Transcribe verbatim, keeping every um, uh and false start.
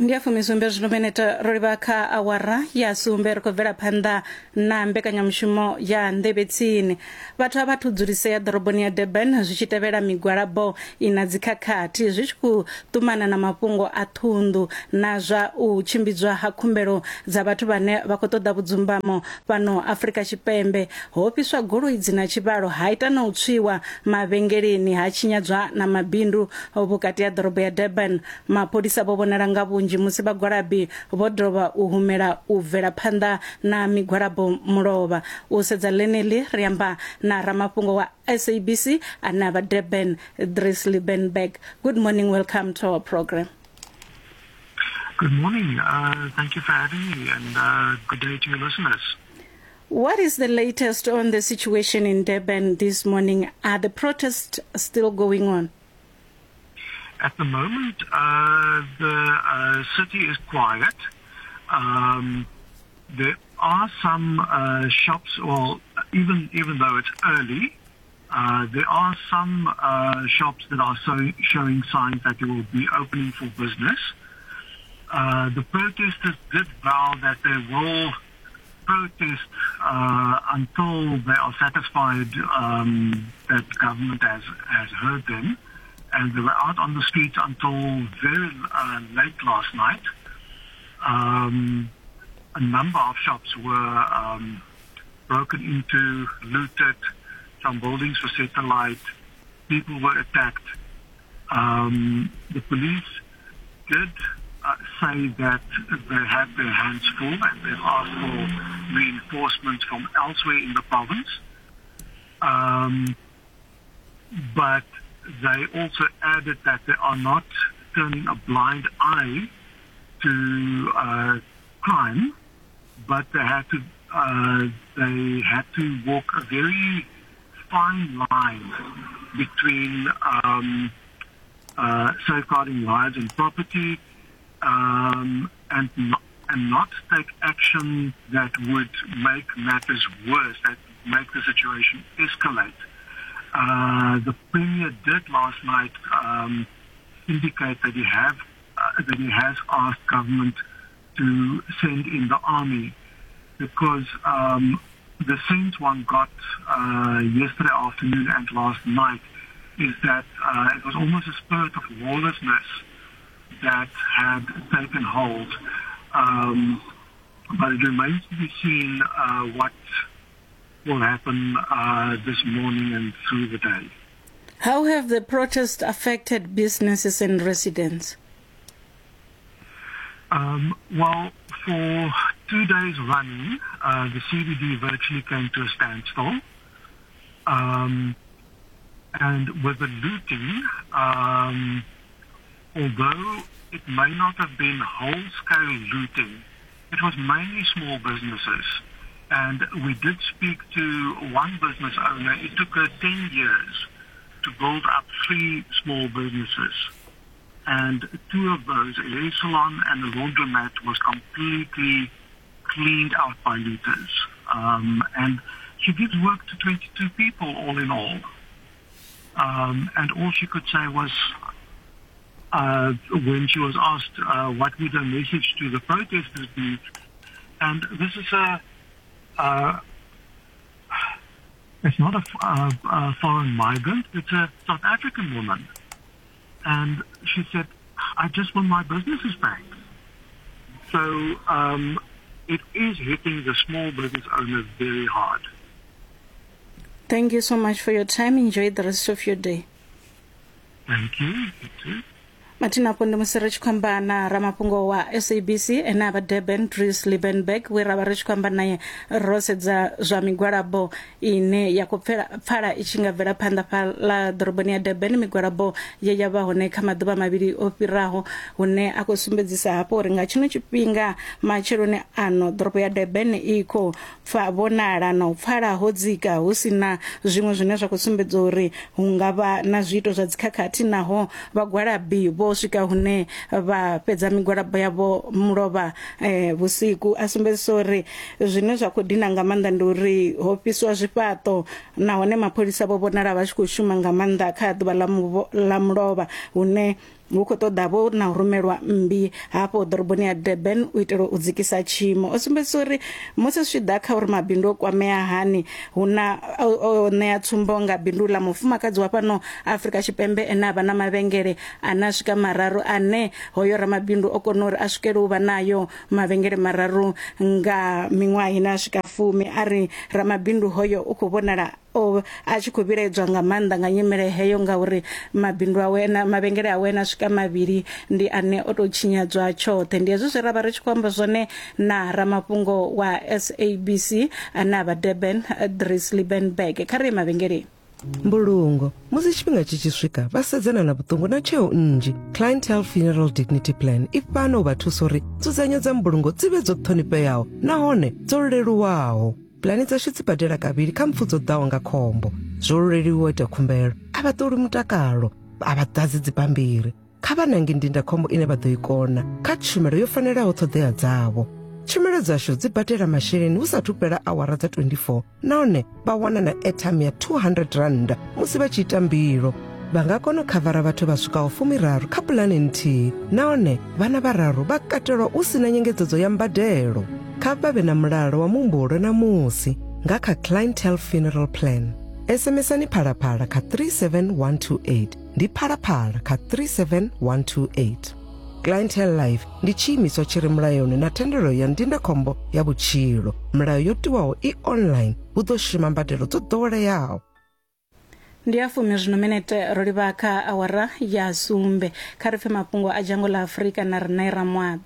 Ndi ya fumisumbe zwino minete ro livha kha awara ya sumbe, ri khou bvela phanḓa na mbekanyamushumo ya Nḓevhe Tsini. Vhathu a vhathu dzulisea ḓoroboni ya Durban zwi tshi tevhela migwalabo ina dzikhakhathi zwi tshi khou ṱumana na mafhungo a ṱhunḓu na zwa u tshimbidzwa ha khumbelo dza vhathu vhane vha khou ṱoḓa vhudzumbamo fhano Afrika Tshipembe. Ho fhiswa goloi dzi na tshivhalo, ha ita na u tswiwa mavhengeleni, ha tshinyadzwa na mabindu vhukati ha ḓorobo ya Durban. Mapholisa vho vhonala nga vhunzhi musi vhagwalabi vho dovha u humela u bvela phanḓa na migwalabo mulovha. U sedza ḽeneḽi ri amba na ramafhungo wa S A B C ane a vha Durban, Dries Liebenberg. Good morning, welcome to our program. Good morning, uh, thank you for having me, and uh, good day to your listeners. What is the latest on the situation in Durban this morning? Are the protests still going on? At the moment, uh, the uh, city is quiet. Um, there are some uh, shops, well, even, even though it's early, uh, there are some uh, shops that are so, showing signs that they will be opening for business. Uh, the protesters did vow that they will protest uh, until they are satisfied um, that government has, has heard them. And they were out on the streets until very uh, late last night. Um, a number of shops were um, broken into, looted. Some buildings were set alight. People were attacked. Um, the police did uh, say that they had their hands full and they've asked for reinforcements from elsewhere in the province. Um, but they also added that they are not turning a blind eye to uh, crime, but they had to uh, they had to walk a very fine line between um, uh, safeguarding lives and property um, and not, and not take action that would make matters worse, that make the situation escalate. Uh, the Premier did last night um, indicate that he have uh, that he has asked government to send in the army, because um, the sense one got uh, yesterday afternoon and last night is that uh, it was almost a spirit of lawlessness that had taken hold. Um, but it remains to be seen uh, what will happen uh, this morning and through the day. How have the protests affected businesses and residents? Um, well, for two days running, uh, the C B D virtually came to a standstill. Um, and with the looting, um, although it may not have been whole-scale looting, it was mainly small businesses. And we did speak to one business owner. It took her ten years to build up three small businesses. And two of those, a hair salon and a laundromat, was completely cleaned out by looters. Um, and she gives work to twenty-two people all in all. Um, and all she could say was, uh, when she was asked uh, what would her message to the protesters be, and this is a Uh, it's not a, a, a foreign migrant, it's a South African woman. And she said, I just want my businesses back. So um, it is hitting the small business owners very hard. Thank you so much for your time. Enjoy the rest of your day. Thank you. You too. Mathina apo ndi musi ri tshi khou amba na ramafhungo wa S A B C ane a vha Durban, Dries Liebenberg, we ra vha ri tshi khou amba naye ro sedza zwa migwalabo ine ya khou pfala i tshi nga bvela phanḓa fhaḽa ḓoroboni ya Durban, migwalabo ye ya vha hone kha maḓuvha mavhili o fhiraho, hune a khou sumbedzisa hafho uri nga tshino tshifhinga matsheloni ano ḓorobo ya Durban i khou pfa vhonala na u pfala ho dzika, hu si na zwiṅwe zwine zwa khou sumbedza uri hu nga vha na zwiito zwa dzikhakhathi, naho vhagwalabi vho swika hune vha fhedza migwalabo yavho mulovha eh, vhusiku. A sumbedzisa uri zwine zwa khou dina nga maanḓa ndi uri ho fhiswa zwifhaṱo, nahone mapholisa vho vhonala vha tshi khou shuma nga maanḓa kha ḓuvha ḽa mulovha, hune hu khou ṱoḓa vho na u rumelwa mmbi hafho ḓoroboni ya Durban u itela u dzikisa tshiimo. O sumbedzisa uri musi zwi tshi ḓa kha uri mabindu o kwamea hani, hu na o ṋea tsumbo nga bindu ḽa mufumakadzi wa fhano Afrika Tshipembe ene a vha na mavhengele ane a swika mararu, ane hoyo ramabindu o kona uri a swikele u vha nayo mavhengele mararu nga miṅwaha ine a swika fumi. A ri ramabindu hoyo u khou vhonala o a tshi khou vhilaedzwa nga maanḓa nga nyimele heyo, ngauri mabindu awe na mavhengele awe na swika mavhili ndi ane o tou tshinyadzwa tshoṱhe. Ndi hezwi zwe ra vha ri tshi khou amba zwone na ramafhungo wa S A B C ane a vha Durban, Dries Liebenberg. Kha ri ye mavhengeleni. Mbulungo musi tshifhinga tshi tshi swika vha sedzana na vhuṱungu na tsheo nnzhi. Clientele Funeral Dignity Plan i fhano u vha thusa uri nzudzanyo dza mbulungo dzi vhe dzo ṱhonifheaho nahone dzo leluwaho. Pulani dzashu dzi badela kavhili kha mpfu dzo ḓaho nga khombo. Zwo leluwa u ita khumbelo, a vha ṱoli mutakalo, a vha ḓadzi dzibammbiri. Kha vha nange ndindakhombo ine vha ḓo i kona kha tshumelo yo fanelaho ṱhoḓea dzavho. Tshumelo dzashu dzi badela masheleni hu sathu fhela awara dza twenty-four nahone vha wana na airtime ya two hundred rand musi vha tshi ita mbilo. Vha nga kona u khavara vhathu vha swikaho fumiraru kha pulane nthihi nahone vhana vhararu vha katelwa u sina nyengedzedzo ya mbadelo. Kha vha vhe na mulalo wa muhumbulo na musi nga kha Clientele Funeral Plan. SMSani phalaphala kha three seven one two eight, ndi phalaphala kha three seven one two eight. Clientele Life ndi tshiimiswa tshi re mulayoni na thendelo ya ndindakhombo ya vhutshilo. Milayo yo tiwaho i online, hu ḓo shuma mbadelo dzo ḓoweleaho. Ndi ya fumi zwino minete ro livha kha awara ya sumbe. Kha ri pfe mafhungo a dzhango ḽa Afrika na Rinae Ramwaḓa.